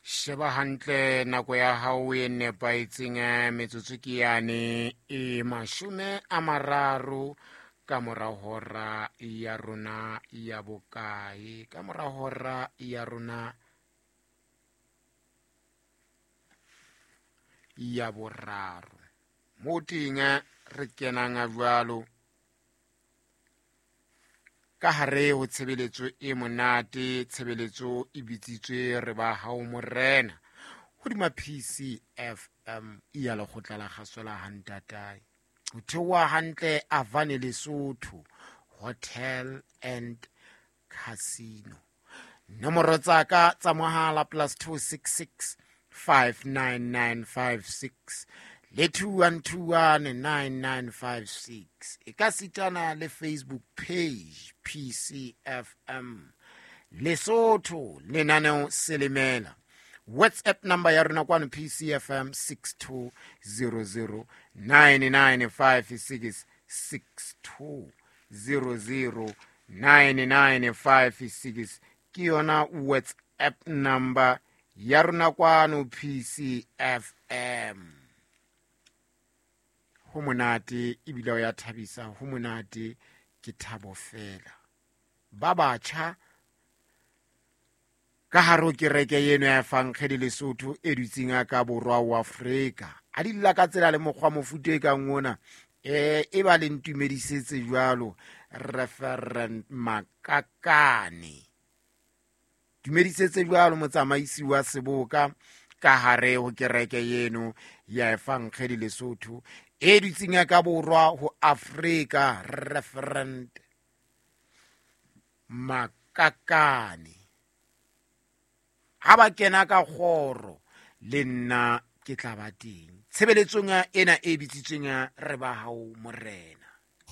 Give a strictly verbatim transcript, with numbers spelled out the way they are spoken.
Sheba hantle nako ya hao e nepahetseng, eh, metsotso ke yane e mashome a mararo ka mora hora ya rona ya bokae, ka mora hora ya rona ya boraro. Mo teng re kenang jwalo ka hare ho tshebeletso e monate, tshebeletso e bitsitswe re ba hao morena hodima P C F M ya lekgotla la kgaso la Hantatae. Ho theoha hantle Avane Lesotho Hotel and Casino. Nomoro tsa ka tsa mohala plus two six six five nine nine five six le two one two one nine nine five six. E ka sitana le Facebook page P C F M Lesotho lenaneo Selemela. WhatsApp number ya rona kwano P C F M six two zero zero nine nine five six, six two zero zero nine nine five six ke yona WhatsApp number ya rona kwano P C F M. Ho monate ebile o ya thabisa, ho monate ke thabo fela. Ba batjha ka hare ho kereke eno ya Efankgedi Lesotho e dutseng a ka borwa wa Afrika. A di lla ka tsela le mokgwa mofuta e kang ona, eh, e ba le ntumedisetse jwalo Reverend Makakane. Dumedisetse jwalo motsamaisi wa seboka ka hare ho kereke eno ya Efankgedi Lesotho e dutseng a ka borwa ho Afrika, Reverend Makakane. Ha ba kena ka kgoro le nna ke tla ba teng tshebeletsong ena e bitsitsweng ya re ba hao morena.